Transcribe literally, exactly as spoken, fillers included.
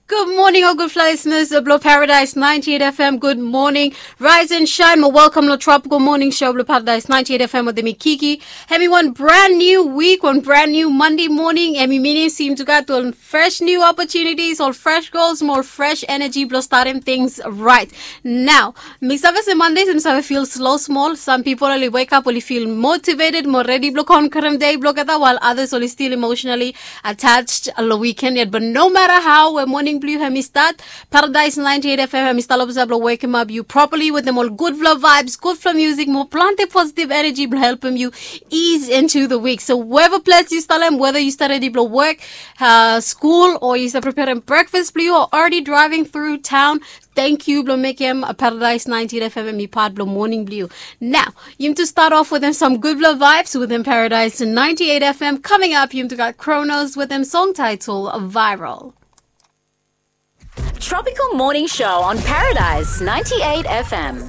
Good morning, ol gudfala listeners blong Paradise ninety-eight F M. Good morning. Rise and shine, mo welcome long Tropical Morning Show blong Paradise ninety-eight F M with me, Kiki. Hemi wan brand new week, wan brand new Monday morning. Hemi minim se yumi tu gat ol fresh new opportunities, ol fresh goals, mo ol fresh energy blong statem things right. Nao, mi save se Mondays yumi save feel slow small. Some people oli wake up, oli feel motivated, mo ready blong conquerem day blong olgeta, while others oli still emotionally attached long weekend yet. But no matter how, we morning blong yu hemi start, Paradise ninety-eight F M hemi stap long posisa blong wekem ap yu properly wetem ol gudfala vibes, gudfala music, mo plante positive energy blong helpem yu ease into the week. So wherever place yu stap long, whether yu stap redi blong work, uh, school, o yu stap preparem breakfast blong yu, o already driving through town, thank yu blong mekem Paradise ninety-eight F M hemi part blong morning blong yu. Nao, yumi tu start off wetem some gudfala vibes wetem Paradise ninety-eight F M. Coming up, yumi tu gat Kronos wetem song title Viral. Tropical Morning Show on Paradise ninety-eight F M.